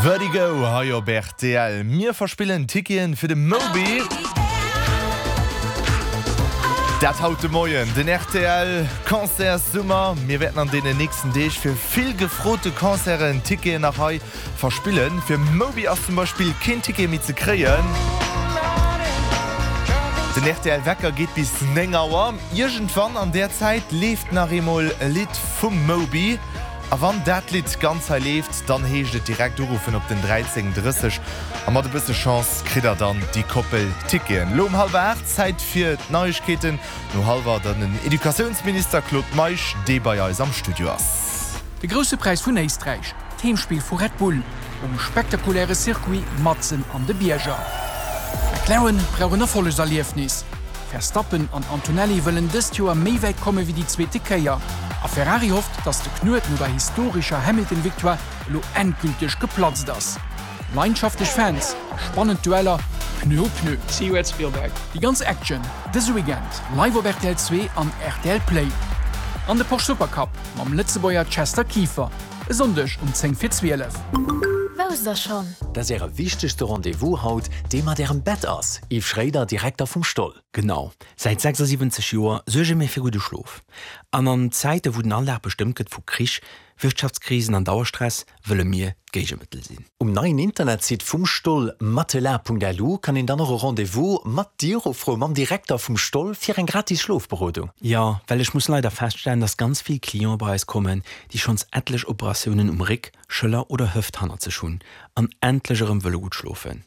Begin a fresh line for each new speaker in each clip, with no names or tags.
Vertigo hei op rtl. Mir verspillen Ticketen fir de Moby. Dat haut de Moien, den rtl Concertssummer. Mir wäerten an deenen nächsten Deeg fir vill gefrote Concerten Ticketen nach hei verspillen. Fir Moby ass zum Beispill keen Ticket méi ze kréien. Den rtl Wecker geet bis 9 Auer. Iergendwann an där Zäit leeft nach eemol e Lidd vum Moby. A wann dat Lidd ganz hei leeft, dann heescht et direkt uruffen op den 13 30 a mat e bësse Chance kritt der dann déi Koppel Ticketen. Lo um hallwer 8 Zäit fir d'Neiegkeeten. No hallwer dann den Educatiounsminister Claude Meisch, dee bei eis am Studio ass.
De Grousse Präis vun Éisträich, d'Heemspill vu Red Bull um spektakuläre Circuit matzen an de Bierger. McLaren brauch en Erfollegserliefnis. Verstappen an Antonelli wëllen dëst Joer méi wäit komme wéi déi zweete Kéier. A Ferrari hofft, datt de Knuet no der historescher Hamilton-Victoire elo endgülteg geplatzt ass. Leidenschaftlech Fans a spannend Dueller Pneu u Pneu. See you at Spielberg. Déi ganz Action dëse Weekend live op rtl 2 an rtl Play. An de Porsche Supercup mam Lëtzebuerger Chester Kieffer e Sonndeg um 10 vir 12.
Wousst der schonn?
Dat ass Äre wichtegste Rendez-vous haut, dee mat Ärem Bett ass. Yves Schréider, Direkter vum Stoll.
Genau, säit 76 Joer suerge mir fir gudde Schlof. An an Zäite wou den Alldag bestëmmt gëtt vu Krich, Wirtschaftskrisen an Dauerstress, wëlle mir d'Géigemëttel sinn.
Um neien Internetsite vum Stoll, matelas.lu, kann een dann och e Rendez-vous mat dir ufroen, mam Direkter vum Stoll, fir eng gratis Schlofberodung.
Jo, well ech muss leider feststellen, dass ganz vill Cliente bei eis kommen, déi schonns etlech Operatiounen um Réck, Schëller oder Hëft hannert sech hunn an endlech erëm wëlle gutt schlofen.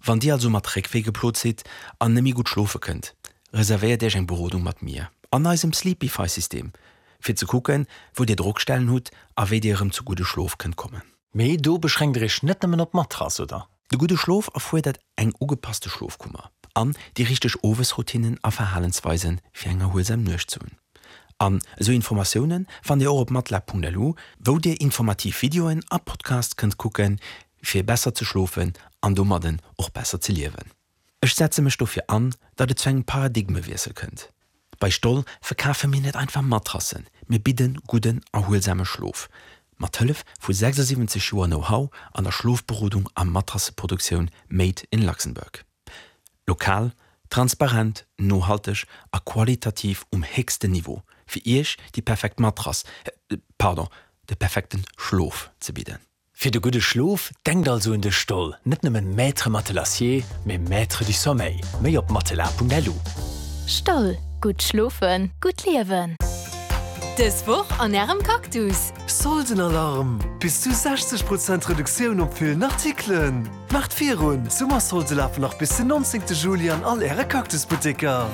Wann dir also mat Réckwéi geplot sidd an net méi gutt schlofe kënnt, reservéiert iech eng Berodung mat mir an eisem Sleepify-System, fir ze kucken, wou dir Drockstellen hutt a wéi dir erëm zu gudde Schlof kënnt kommen.
Mee do beschränkt der iech net nëmmen op d'Matrass, oder?
De gudde Schlof erfuerdert eng ugepasste Schlofkummer an déi richteg Owesroutinnen a Verhalensweisen, fir eng erhuelsam Nuecht ze hunn. An esou Informatioune fannt Dir och op matlab.lu, wou Dir informativ Videoen a Podcasts kënnt kucken, fir besser ze schlofen an domadden och besser ze liewen. Ech setze mech dofir an, datt et zu engem Paradigmewiessel kënnt. Bei Stoll verkafe mir net einfach Matrassen, mir bidden gudden, erhuelsame Schlof. Mat Hëllef vu 76 Joer Know-how an der Schlofberodung a Matrasseproduktioun made in Luxembourg. Lokal, transparent, nohalteg a qualitativ um héchsten Niveau, fir Iech déi perfekt Matrass, pardon, de perfekten Schlof ze bidden.
Fir de gudde Schlof, denkt also un de Stoll, net nëmmen Maître Matelassier, mee Maître du Sommeil. Méi op matelas.lu.
Stoll, gutt schlofen, gutt liewen.
Dës Woch an Ärem Cactus!
Soldenalarm! Bis zu 60 Prozent Reduktioun op villen Artikelen! Maacht virun, d'Summersolde lafen nach bis den 19 Juli an all Äre Cactus-Butteker!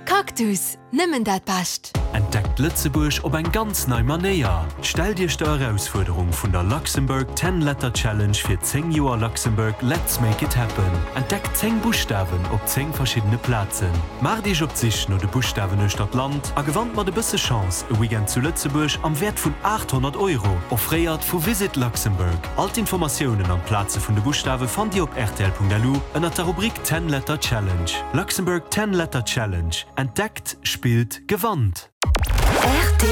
Cactus, nëmmen dat Bescht!
Entdeckt Lëtzebuerg op eng ganz nei Manéier! Stellt Iech der Erausfuerderung vun der Luxembourg Ten Letter Challenge fir 10 Joer Luxembourg Let's Make It Happen. Entdeckt 10 Buschtawen op 10 verschiddene Plazen. Maacht Iech op d'Sich no de Buschtawen uechter d'Land a gewannt mat e bësse Chance e Weekend zu Lëtzebuerg am Wäert vun 800 Euro, offréiert vu Visit Luxembourg. All d'Informatiounen an d'Plaze vun de Buschtawe fannt Dir op rtl.lu ënnert der Rubrik Ten Letter Challenge. Luxembourg Ten Letter Challenge, Entdeckt, spillt, gewannt!
Rtl.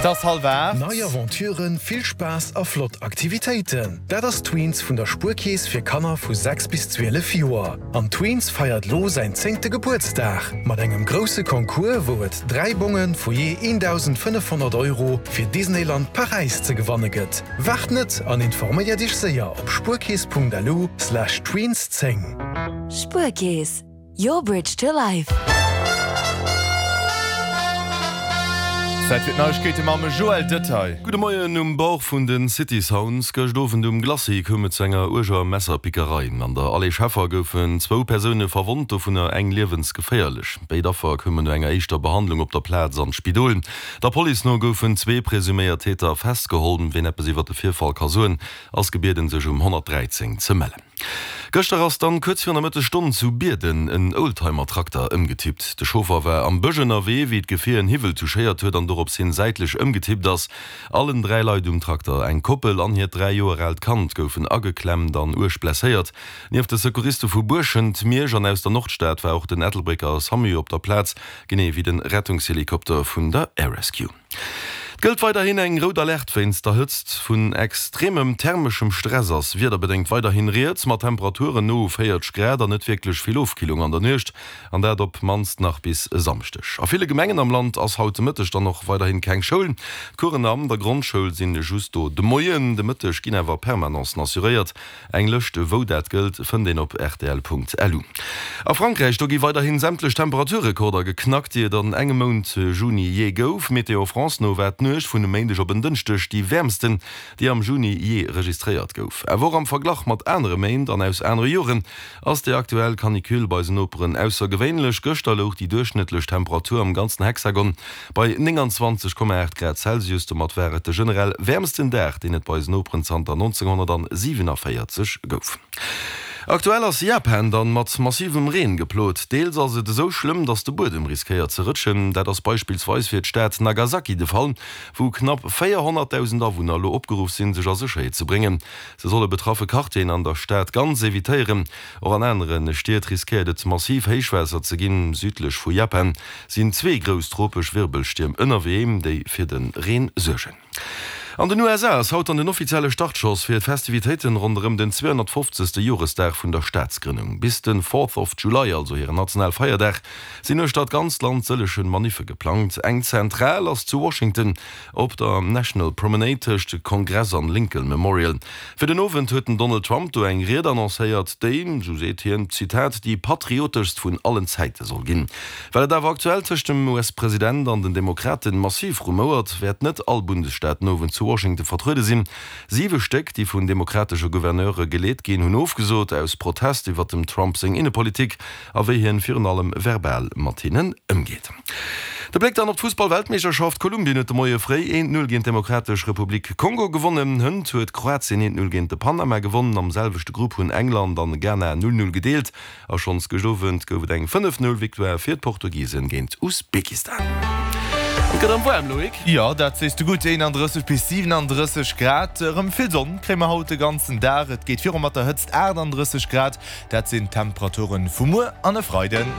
Et ass hallwer 8.
Nei Aventuren, vill Spaass a flott Aktivitéiten, dat ass Tweens vun der Spuerkeess fir Kanner vu 6 bis 12 Joer. An Tweens feiert lo säin zéngte Gebuertsdag mat engem grousse Concours, wou et 3 Bonge vu jee 1.500 Euro fir Disneyland Paräis ze gewanne gëtt. Waart net an informéiert iech séier op spuerkeess.lu slash tweens 10.
Spuerkeess, your bridge to life.
Zäit fir d'Neiegkeete mam Joël Detail.
Gudde Moien, Um Bord vun de City Sounds gëscht Owend um Glacis koum et zu enger uerger Messerpickerei. An der Allée Scheffer goufen zwou Persoune verwonnt, dovunner eng liewensgeféierlech. Béid Affer koumen no enger éischter Behandlung op der Plaz an d'Spidol. Der Police no goufen zwee presuméiert Täter festgeholl. Ween eppes iwwer de Virfall ka soen, ass gebieden sech um 113 ze mellen. Gëschter ass dann kuerz virun der Mëttesstonn zu Bierden en Oldtimer-Trakter ëmgetippt. De Chauffer war am Bësch ënnerwee, wéi d'Gefier en Hiwwel touchéiert huet an dorops hin säitlech ëmgetippt ass. Allen 3 Leit um Trakter, eng Koppel an hiert 3 Joer aalt Kand, goufen ageklemmt an uerg blesséiert. Nieft de Secouriste vu Buerschent, Miersch an aus der Nordstad war och den Ettelbrécker Samu op der Plaz, genee wéi de Rettungshelikopter vun der Air Rescue. Et gëllt weiderhin eng rout Alerte wéinst der Hëtzt. Vun extremem thermeschem Stress ass wiederbedéngt weiderhin rieds, mat Temperaturen no u 40 Grad an net wierklech vill Ofkillung an der Nuecht, an dat op d'mannst nach bis e Samschdeg. A ville Gemengen am Land ass haut de Mëtteg dann och weiderhin keng Schoul. D'Coursen an der Grondschoul sinn just do de Moien, de Mëtteg ginn awer Permanencen assuréiert. Eng Lëscht wou dat gëllt fënnt een op rtl.lu. A Frankräich, do gi weiderhin sämtlech Temperaturrekorder geknackt, déi et an engem Mount Juni jee gouf. Météo France no war d'Nuecht vun e Méindeg op en Dënschdeg déi wäermsten, déi am Juni jee registréiert gouf. Awer och am Verglach mat anere Méint an aus anere Joren ass déi aktuell Canicule bei eisen Noperen aussergewéinlech. Gëschter louch déi duerchschnëttlech Temperatur am ganzen Hexagon Bei 29,8 Grad Celsius, domat war et de generell wäermsten Dag, deen et bei eisen Noperen zanter 1947 gouf. Aktuell ass Japan dann mat massivem Reen geplot. Deels ass et esou schlëmm, dass de Buedem riskéiert ze rëtschen. Dat ass beispillsweis fir d'Stad Nagasaki de Fall, wou knapp 400.000 Awunner elo opgeruff sinn, sech a Sécherheet ze bréngen. Se solle betraffe Quartieren an der Stad ganz evitéieren. Och an anere Stied riskéiert et massiv Héichwaasser ze ginn. Südlech vu Japan sinn zwee grouss tropesch Wirbelstierm ënnerwee, déi fir de Reen suergen. An den USA ass haut dann den offizielle Startschoss fir d'Festivitéiten ronderëm den 250. Joresdag vun der Staatsgrënnung. Bis de Fourth of July, also hiren Nationalfeierdag, sinn uechter d'ganzt Land sëllege Maniffe geplangt. Eng zentral ass zu Washington op der National Promenade tëscht Kongress an Lincoln Memorial. Fir den Owend huet den Donald Trump do eng Ried annoncéiert, déi, sou seet hien, Zitat, déi patrioteschst vun allen Zäite soll ginn. Well et awer aktuell tëscht dem US-President an den Demokraten massiv rumouert, wäert net all Bundesstaat den Owend zu Washington vertruede sinn. Siwe Stéck, déi vun demokratesche Gouverneure geleet ginn, hunn ofgesot, aus Protest iwwer dem Trump seng Innepolitik a wéi hien virun allem verbal mat hinnen ëmgeet. De Bléck dann op d'Fussball-Weltmeeschterschaft, Kolumbien huet de Moie fréi 1, 0 géint d'Demokratesch Republik Kongo gewonnen. Hënt huet Kroatien 1, 0 géint de Panama gewonnen. Am selwechte Grupp hunn England an Ghana 0, 0 gedeelt. A schonns gëscht Owend gouf et eng 5, 0 Victoire fir d'Portugisen géint Usbekistan. Et gëtt erëm waarm, Loïc.
Jo, dat sees de gutt, 31 bis 37 Grad. Erëm vill Sonn kréie mer haut de ganzen Dag. Et geet viru mat der Hëtzt, 38 Grad. Dat sinn d'Temperaturen vu muer an e Freiden.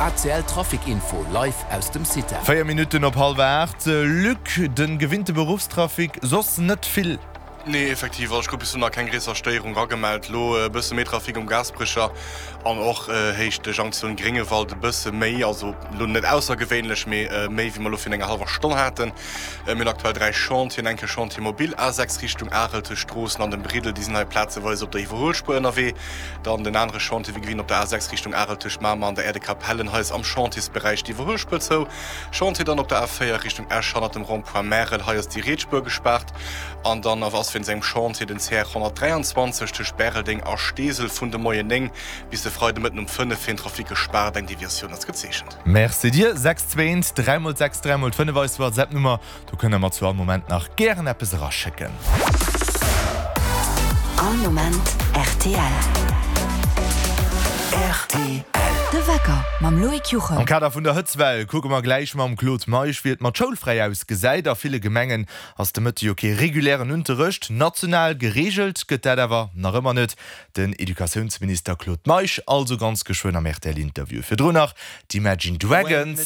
ACL Trafic Info live aus dem CITA.
4 Minutten op hallwer 8, Luc, de gewinnte Beruffstrafic, soss net vill.
Nee, effektiv, also ech krut bis elo nach keng gréisser Stéierung ragemellt. Elo e bësse méi Trafic um Gaasperecher an och Héicht Jonktioun Gréngewald e bësse méi, also elo net aussergewéinlech, mee méi wéi mer elo virun enger hallwer Stonn haten. Mir hunn aktuell 3 Chantieren, enke Chantier mobile A6 Richtung Arel tëscht Stroossen an dem Briddel, déi sinn hei plazeweis op der Iwwerhuelspuer ënnerwee. Dann den anere Chantier wéi gewinnt op der A6 Richtung Arel tëscht Mamer an der Aire de Capellen, hei ass am Chantiersberäich d'Iwwerhuelspuer zou. Chantier dann op der A4 Richtung Esch hannert dem Rond-point Märel, hei ass déi riets Spuer gespaart. An dann ass wéinst engem Chantier den CR 123 tëscht Bäreldeng a Steesel vun de Moien 9 bis de Freidemëtten um 5 fir den Trafic gespaart. Eng Deviatioun ass gezeechent.
Merci dir. 6 2 1 3 mol 6 3 mol 5 eis WhatsApp Nummer, do kënnt der mer zu all Moment nach gären eppes eraschécken.
All Moment rtl.
Rtl.
De Wecker mam Loïc Juchem.
Am Kader vun der Hëtzwell kucke mer gläich mam Claude Meisch wéi et mat Schoulfräi ausgesäit. A ville Gemengen ass de Mëtte jo kee regulären Unterrecht. National gereegelt gëtt dat awer nach ëmmer net. Den Educatiounsminister Claude Meisch also ganz geschwënn am RTL-Interview. Virdrun nach d'Imagine Dragons.